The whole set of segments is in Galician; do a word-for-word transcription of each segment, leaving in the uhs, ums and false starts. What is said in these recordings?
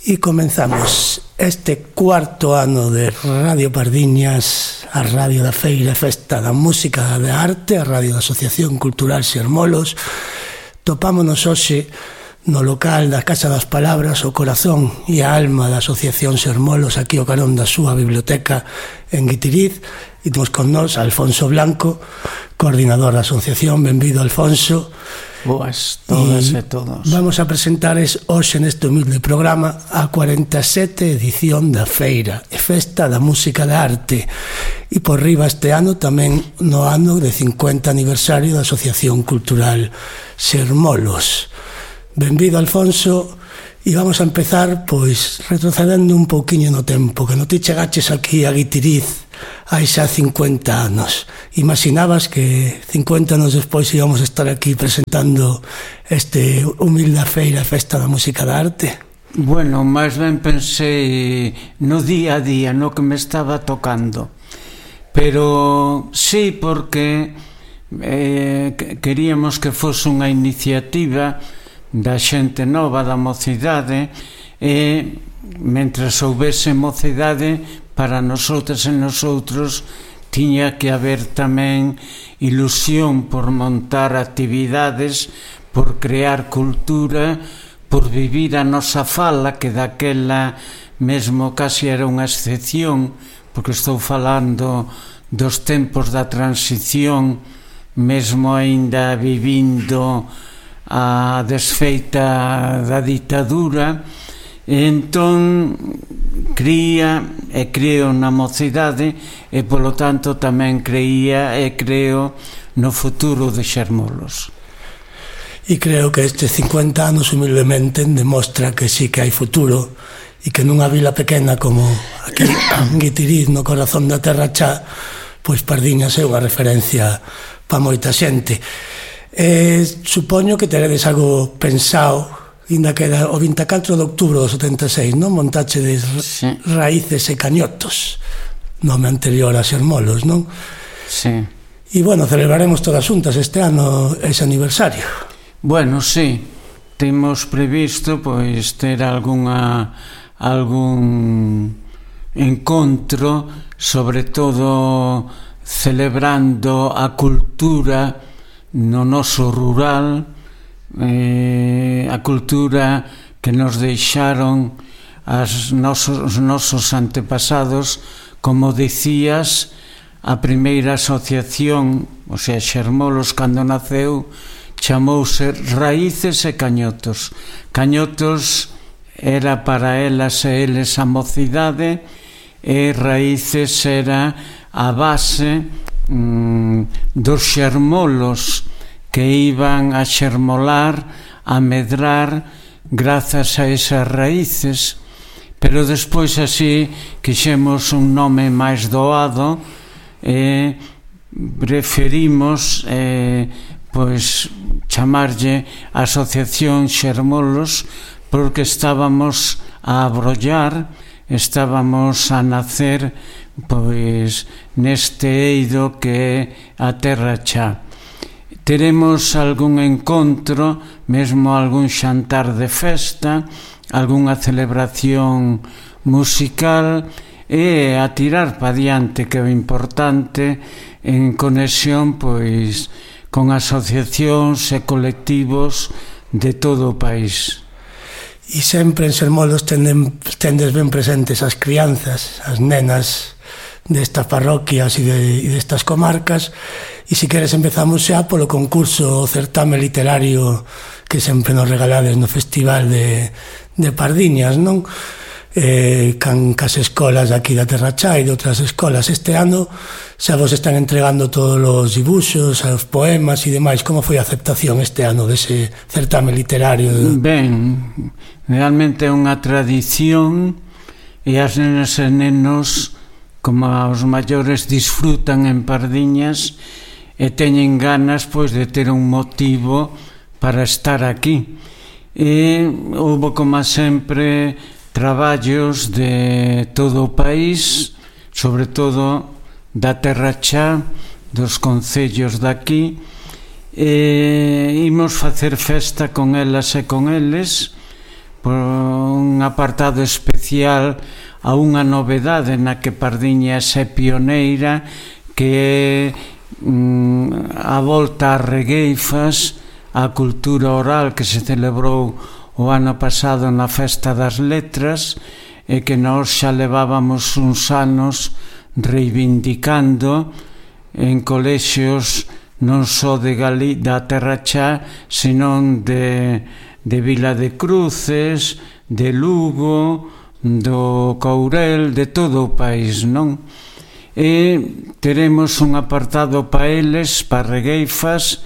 E comenzamos este cuarto ano de Radio Pardiñas, a Radio da Feira, a Festa da Música e da Arte, a Radio da Asociación Cultural Xermolos. Topámonos hoxe no local da Casa das Palabras, o corazón e a alma da Asociación Xermolos, aquí ao carón da súa biblioteca en Guitiriz. E temos con nós Alfonso Blanco, coordinador da asociación. Benvido, Alfonso. Boas todas e, e todos. Vamos a presentar hoxe neste humilde programa a cuarenta e sete edición da Feira e Festa da Música e da Arte, e por riba este ano tamén no ano de cincuenta aniversario da Asociación Cultural Xermolos. Benvido, Alfonso, e vamos a empezar pois retrocedendo un pouquiño no tempo, que non ti chegaches aquí a Guitiriz hai xa cincuenta anos. Imaginabas que cincuenta anos despois íbamos a estar aquí presentando este humilde feira Festa da Música e da Arte? Bueno, máis ben pensei no día a día, no que me estaba tocando, pero sí, porque eh, queríamos que fose unha iniciativa da xente nova, da mocidade, e mentres houbese mocidade para nosotras e nosotros tiña que haber tamén ilusión por montar actividades, por crear cultura, por vivir a nosa fala, que daquela mesmo casi era unha excepción, porque estou falando dos tempos da transición, mesmo aínda vivindo a desfeita da ditadura. E entón cría e creo na mocidade, e polo tanto tamén creía e creo no futuro de Xermolos. E creo que estes cincuenta anos humildemente demostra que sí que hai futuro, e que nunha vila pequena como aquí en Guitiriz, no corazón da Terra Chá, pois Pardiñas é unha referencia para moita xente. Eh, supoño que teredes algo pensado, inda que era o vinte e catro de outubro do setenta e seis, non? Montache de sí. Raíces e Cañotos, nome anterior a Xermolos, non? Sí. E, bueno, celebraremos todas xuntas este ano ese aniversario. Bueno, sí, temos previsto, pois, ter algunha algún encontro, sobre todo celebrando a cultura no noso rural, Eh, a cultura que nos deixaron as nosos, os nosos antepasados. Como dicías, a primeira asociación, o sea, Xermolos, cando naceu, chamouse Raíces e Cañotos. Cañotos era para elas e eles a mocidade, e Raíces era a base mm, dos xermolos que iban a xermolar, a medrar grazas a esas raíces. Pero despois así quixemos un nome máis doado e preferimos eh, pois chamarlle Asociación Xermolos, porque estábamos a abrollar, estábamos a nacer pois neste eido que é a Terra Chá. Teremos algún encontro, mesmo algún xantar de festa, algunha celebración musical, e a tirar pa diante, que é o importante, en conexión pois con asociacións e colectivos de todo o país. E sempre en Xermolos tenden, tendes ben presentes as crianzas, as nenas destas parroquias e, de, e destas comarcas. E se queres empezamos xa polo concurso, o certame literario que sempre nos regalades no Festival de, de Pardiñas, non? Eh, can cas escolas aquí da Terra Chá e de outras escolas. Este ano xa vos están entregando todos os dibuxos, os poemas e demais. Como foi a aceptación este ano dese certame literario? Ben, realmente é unha tradición, e as nenas e nenos, como os maiores, disfrutan en Pardiñas e teñen ganas pois de ter un motivo para estar aquí. E houve, como sempre, traballos de todo o país, sobre todo da Terra Chá, dos concellos daqui, e imos facer festa con elas e con eles, por un apartado especial a unha novedade na que Pardiñas é pioneira, que é mm, a volta ás regueifas, a cultura oral que se celebrou o ano pasado na Festa das Letras, e que nós xa levábamos uns anos reivindicando en colexios non só de Gali, da Terra Chá, senón de, de Vila de Cruces, de Lugo, do Courel, de todo o país, non? E teremos un apartado pa eles, pa regueifas,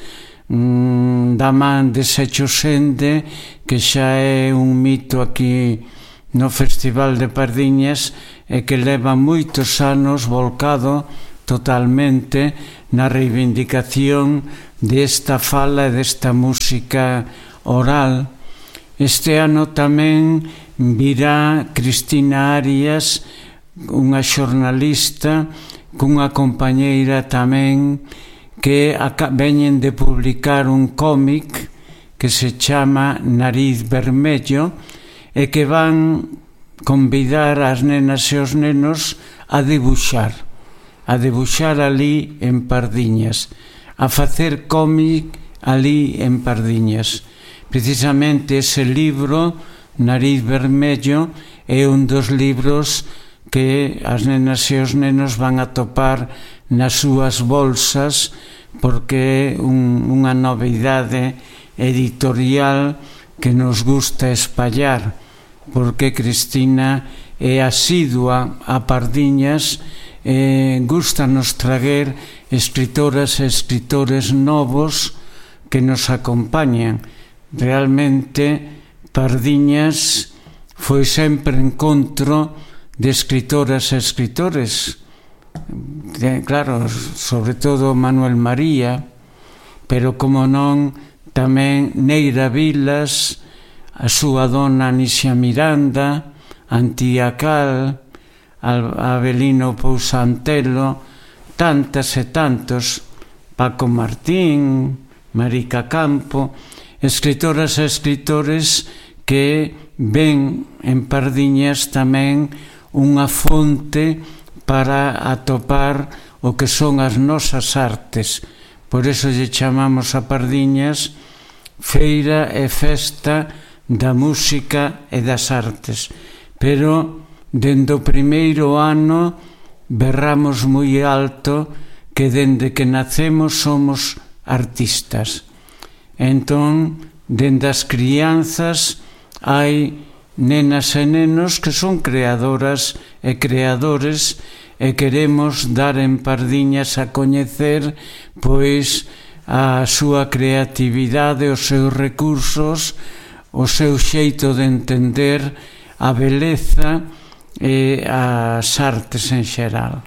mmm, da man de Seixo Sende, que xa é un mito aquí no Festival de Pardiñas e que leva moitos anos volcado totalmente na reivindicación desta fala e desta música oral. Este ano tamén virá Cristina Arias, unha xornalista cunha compañeira tamén que veñen de publicar un cómic que se chama Nariz Vermello e que van convidar as nenas e os nenos a dibuixar a dibuixar ali en Pardiñas, a facer cómic ali en Pardiñas. Precisamente ese libro, Nariz Vermello, é un dos libros que as nenas e os nenos van a topar nas súas bolsas, porque é un, unha novidade editorial que nos gusta espallar, porque Cristina é asidua a Pardiñas, e gustanos traer escritoras e escritores novos que nos acompañan. Realmente Pardiñas foi sempre encontro de escritoras e escritores, de, claro, sobre todo Manuel María, pero como non tamén Neira Vilas, a súa dona Anisia Miranda, Antía Cal, Avelino Pousantelo, tantas e tantos, Paco Martín, Marica Campo, escritoras e escritores que ven en Pardiñas tamén unha fonte para atopar o que son as nosas artes. Por iso lle chamamos a Pardiñas Feira e Festa da Música e das Artes. Pero dende o primeiro ano berramos moi alto que dende que nacemos somos artistas. Entón, dende as crianzas hai nenas e nenos que son creadoras e creadores e queremos dar en Pardiñas a coñecer pois a súa creatividade, os seus recursos, o seu xeito de entender a beleza e as artes en xeral.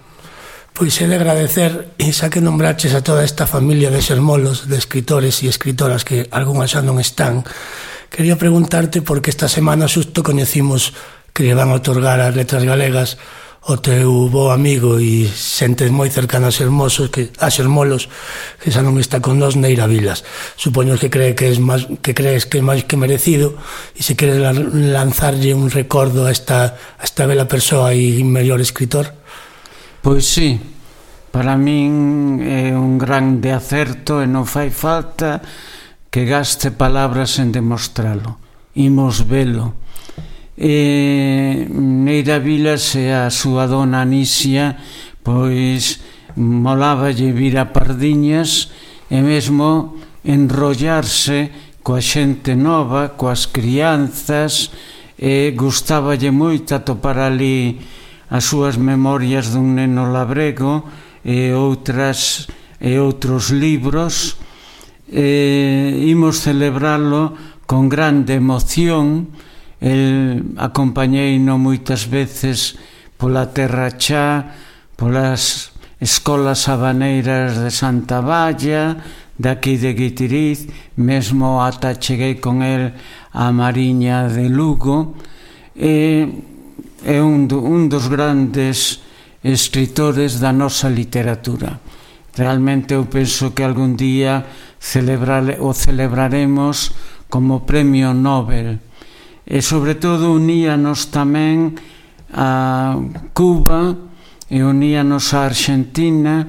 Pois é de agradecer, e xa que nombraches a toda esta familia de xermolos, de escritores e escritoras que algunhas xa non están, quería preguntarte porque esta semana xusto coñecimos que lle van a otorgar as letras galegas o teu bo amigo e xente moi cercana a Xermosos, que, a Xermolos, que xa non está con nós, Neira Vilas. Supoño que, cree que, es más, que crees que é máis que merecido, e se queres lanzarlle un recordo a esta, a esta bela persoa e mellor escritor. Pois sí, para min é un grande acerto e non fai falta que gaste palabras en demostralo. Imos velo. E Neira Vilas e a súa dona Anisia pois moláballe vir a Pardiñas e mesmo enrollarse coa xente nova, coas crianzas, e gustaballe moito atopar ali as súas memorias dun neno labrego e outras e outros libros. E imos celebralo con grande emoción. El acompañeino moitas veces pola Terra Chá, polas escolas habaneiras de Santa Valla, daqui de Guitiriz, mesmo ata cheguei con el a Mariña de Lugo. E é un, do, un dos grandes escritores da nosa literatura. Realmente eu penso que algún día celebrare, o celebraremos como premio Nobel. e sobre todo uníanos tamén a Cuba e uníanos a Argentina,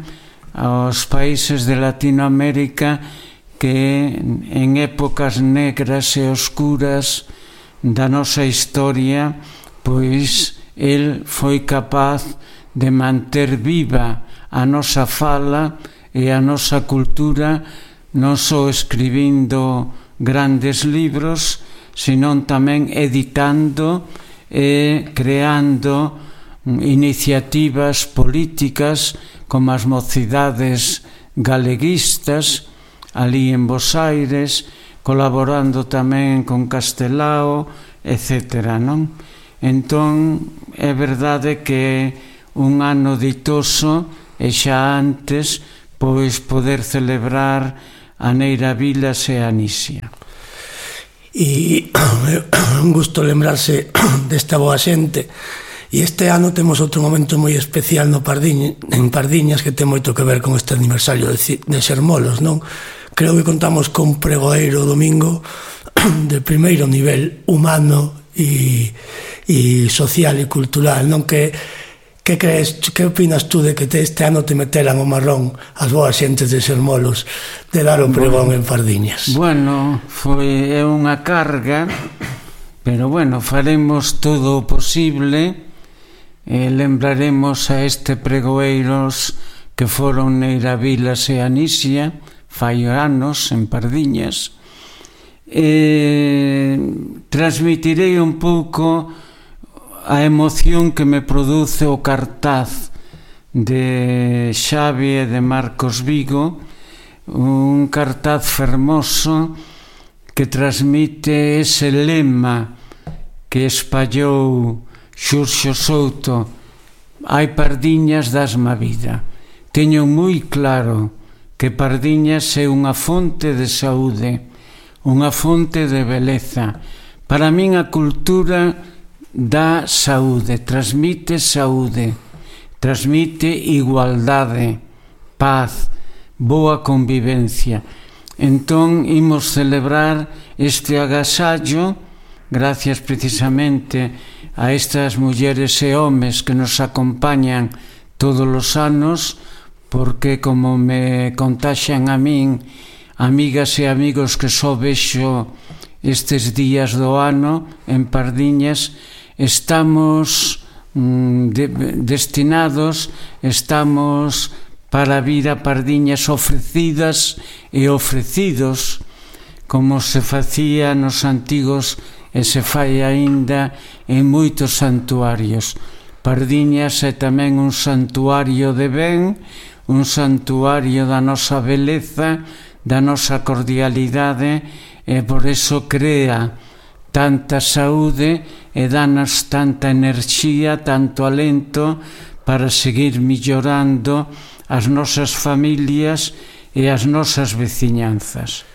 aos países de Latinoamérica que en épocas negras e oscuras da nosa historia, pois el foi capaz de manter viva a nosa fala e a nosa cultura, non só escribindo grandes libros, senón tamén editando e creando iniciativas políticas como as mocidades galeguistas ali en Bos Aires, colaborando tamén con Castelao, etcétera, non? Entón, é verdade que un ano ditoso e xa antes, pois poder celebrar a Neira Vilas e a Nisia. E un gusto lembrarse desta boa xente. E este ano temos outro momento moi especial no Pardiñas, en Pardiñas, que ten moito que ver con este aniversario de, de Xermolos, non? Creo que contamos con pregoeiro domingo de primeiro nivel humano e, e social e cultural, non? Que, que crees, que opinas tú de que te, este ano te meteran o marrón as boas xentes de Xermolos de dar o pregón bueno, en Pardiñas? Bueno, foi unha carga, pero bueno, faremos todo o posible. E lembraremos a este pregoeiros que foron Neira Vilas e Anisia fai anos en Pardiñas. E transmitirei un pouco a emoción que me produce o cartaz de Xavi e de Marcos Vigo, un cartaz fermoso que transmite ese lema que espallou Xurxo Souto: hai Pardiñas, dasma vida. Teño moi claro que Pardiñas é unha fonte de saúde, unha fonte de beleza. Para min a cultura dá saúde, transmite saúde, transmite igualdade, paz, boa convivencia. Entón, imos celebrar este agasallo gracias precisamente a estas mulleres e homes que nos acompañan todos os anos, porque como me contaxan a min amigas e amigos que só vexo estes días do ano en Pardiñas, estamos mm, de, destinados, estamos para vir a Pardiñas ofrecidas e ofrecidos, como se facía nos antigos e se fai aínda en moitos santuarios. Pardiñas é tamén un santuario de ben, un santuario da nosa beleza, da nosa cordialidade, e por eso crea tanta saúde e danos tanta enerxía, tanto alento para seguir mellorando as nosas familias e as nosas veciñanzas.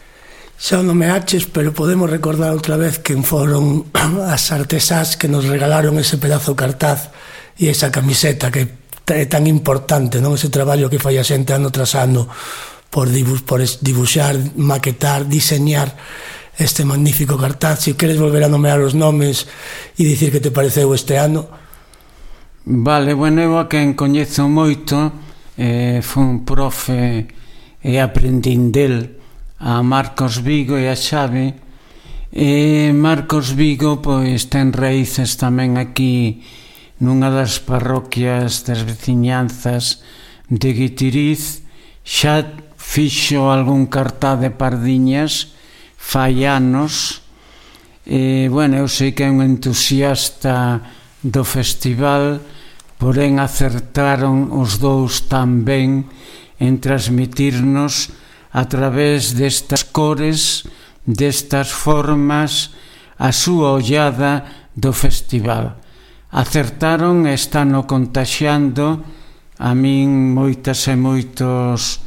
Xa non me aches, pero podemos recordar outra vez quen foron as artesás que nos regalaron ese pedazo cartaz e esa camiseta que é tan importante, non? Ese traballo que fai a xente ano tras ano por, dibu por dibuixar, maquetar, diseñar este magnífico cartaz. Se queres volver a nomear os nomes e dicir que te pareceu este ano. Vale, bueno, eu a quen coñezo moito, eh, foi un profe e aprendín del, a Marcos Vigo e a Xavi. E Marcos Vigo pois ten raíces tamén aquí nunha das parroquias das veciñanzas de Guitiriz. Xa fixo algún cartaz de Pardiñas fai anos. E, bueno, eu sei que é un entusiasta do festival, porén acertaron os dous tan ben en transmitirnos a través destas cores, destas formas, a súa ollada do festival. Acertaron e están o contaxiando. A min moitas e moitos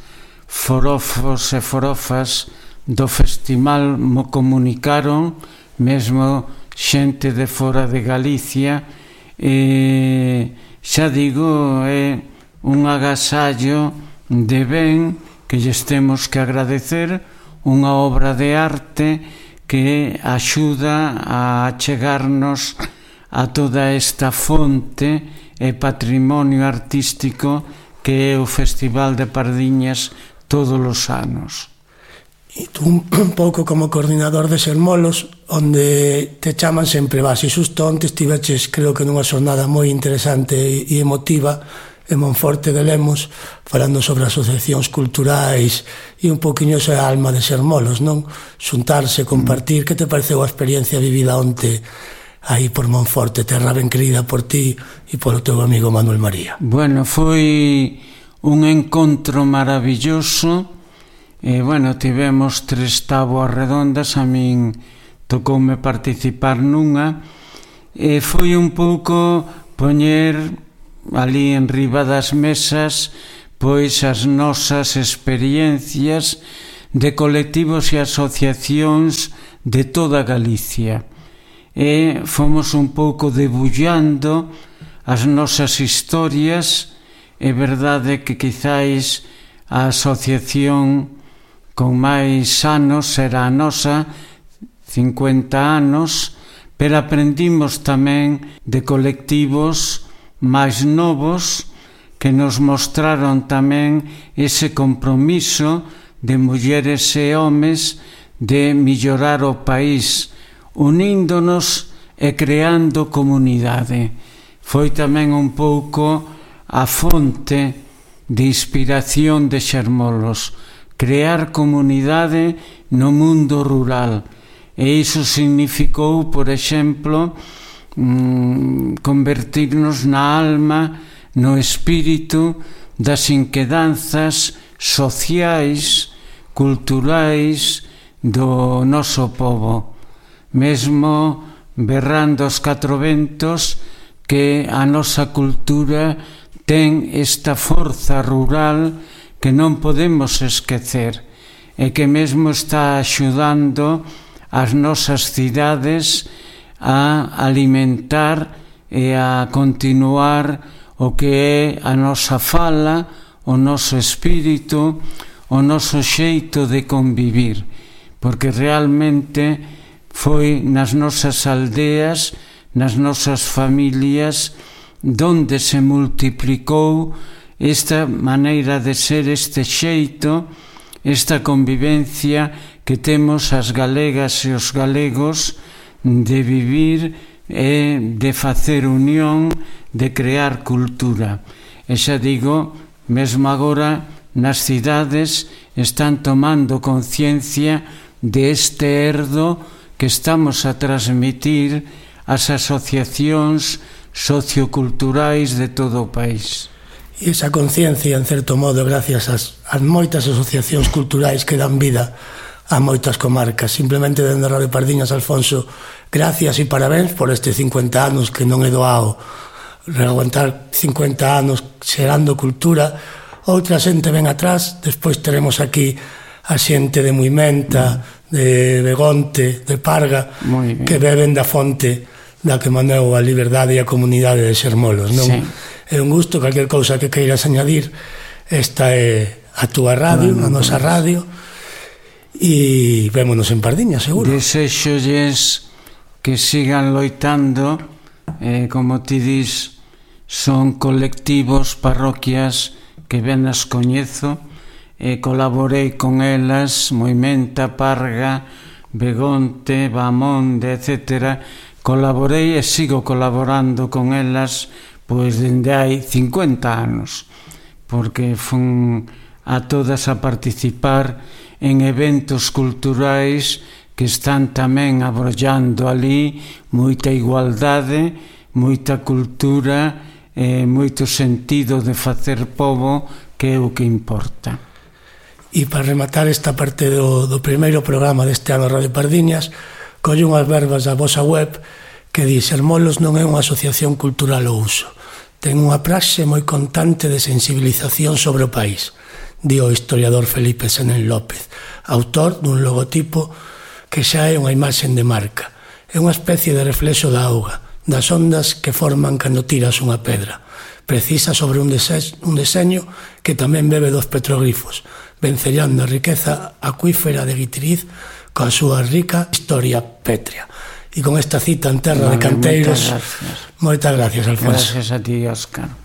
forofos e forofas do festival mo comunicaron, mesmo xente de fora de Galicia, e xa digo, é un agasallo de ben que lles temos que agradecer, unha obra de arte que axuda a chegarnos a toda esta fonte e patrimonio artístico que é o Festival de Pardiñas todos os anos. E tú un pouco como coordinador de Sermolos, onde te chaman sempre vas, e xusto onte estiveches, creo que nunha xornada moi interesante e emotiva en Monforte de Lemos, falando sobre asociacións culturais e un poquinho esa alma de Sermolos, non? Xuntarse, compartir. Que te pareceu a experiencia vivida onte aí por Monforte, terra ben querida por ti e polo teu amigo Manuel María? Bueno, foi un encontro maravilloso. E, bueno, tivemos tres táboas redondas, a min tocoume participar nunha, e foi un pouco poñer ali en riba das mesas pois as nosas experiencias de colectivos e asociacións de toda Galicia. E fomos un pouco debullando as nosas historias. É verdade que quizáis a asociación con máis anos era a nosa, cincuenta anos, pero aprendimos tamén de colectivos máis novos que nos mostraron tamén ese compromiso de mulleres e homes de mellorar o país, uníndonos e creando comunidade. Foi tamén un pouco a fonte de inspiración de Sermolos, crear comunidade no mundo rural. E iso significou, por exemplo, convertirnos na alma, no espírito das inquedanzas sociais, culturais do noso pobo. Mesmo berrando aos catro ventos que a nosa cultura ten esta forza rural que non podemos esquecer e que mesmo está axudando as nosas cidades a alimentar e a continuar o que é a nosa fala, o noso espírito, o noso xeito de convivir, porque realmente foi nas nosas aldeas, nas nosas familias, donde se multiplicou esta maneira de ser, este xeito, esta convivencia que temos as galegas e os galegos de vivir e de facer unión, de crear cultura. E xa digo, mesmo agora nas cidades están tomando conciencia de este herdo que estamos a transmitir ás asociacións socioculturais de todo o país. E esa conciencia, en certo modo, gracias ás, ás moitas asociacións culturais que dan vida a moitas comarcas. Simplemente dende Radio Pardiñas, Alfonso, gracias e parabéns por estes cincuenta anos, que non é doado reaguantar cincuenta anos xerando cultura. Outra xente ven atrás, despois teremos aquí a xente de Muimenta, mm. de Begonte, de Parga, que beben da fonte da que mandou a liberdade e a comunidade de Sermolos, non? Sí. É un gusto, calquer cousa que queiras añadir, esta é a túa radio, bueno, a nosa radio, e vémonos en Pardiñas, seguro. Desexolles que sigan loitando, eh, como ti dis, son colectivos, parroquias que ben as coñezo, e colaborei con elas, Muimenta, Parga, Begonte, Bamonde, etcétera. Colaborei e sigo colaborando con elas pois dende hai cincuenta anos, porque fun a todas a participar en eventos culturais que están tamén abrollando ali moita igualdade, moita cultura e moito sentido de facer pobo, que é o que importa. E para rematar esta parte do, do primeiro programa deste ano Radio Pardiñas, colle unhas verbas da vosa web que di: Sermolos non é unha asociación cultural ao uso, ten unha praxe moi constante de sensibilización sobre o país, di o historiador Felipe Senén López, autor dun logotipo que xa é unha imaxen de marca. É unha especie de reflexo da auga, das ondas que forman cando tiras unha pedra, precisa sobre un, dese- un deseño que tamén bebe dos petroglifos, vencellando a riqueza acuífera de Guitiriz coa súa rica historia pétrea. E con esta cita en terra vale, de canteiros, moitas gracias. Moitas gracias, Alfonso. Gracias a ti, Óscar.